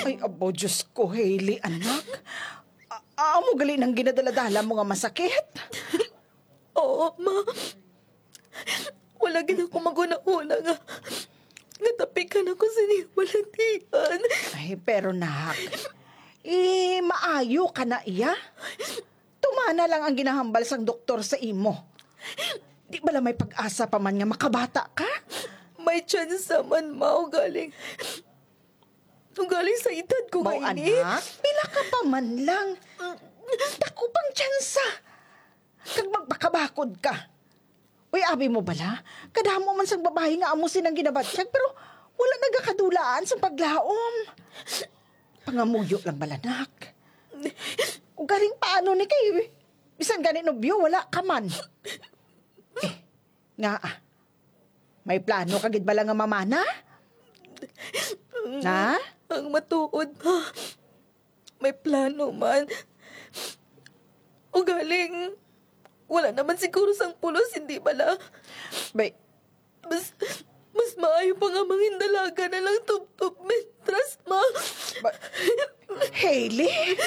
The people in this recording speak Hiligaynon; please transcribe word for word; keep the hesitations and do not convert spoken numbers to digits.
Ay, abo, Diyos ko, Hailey, anak. A- amo gali nang ginadaladala mo nga masakit? Oo, ma. Wala gid ako maghunahuna nga, nga tapikan ako sini balatian. Ay, pero nak, eh, maayo ka na iya. Tumana lang ang ginahambal sang doktor sa imo. Di bala may pag-asa pa man nga makabata ka? May tsansa man, ma, ugaling, ugaling sa edad ko nga ini. Anak, pila ka pa man lang. Dako pang tsansa. Kag magpakabakod ka. Uy, abi mo bala, kadamo man sang babayi nga amo sinang ginabatyag, pero wala nagakadulaan sang paglaom. Pangamuyo lang bala, nak. Ugaling paano ni kay bisan gani nobyo, wala ka man. Eh, nga ah. May plano ka gid bala nga mamana? Ha? Ang matuod, ma. May plano man. Ugaling, wala naman siguro sang pulos, hindi bala? Bay, mas, mas maayo pa nga mangindalaga na lang tubtob, Mistress, ma. Ba- Hailey?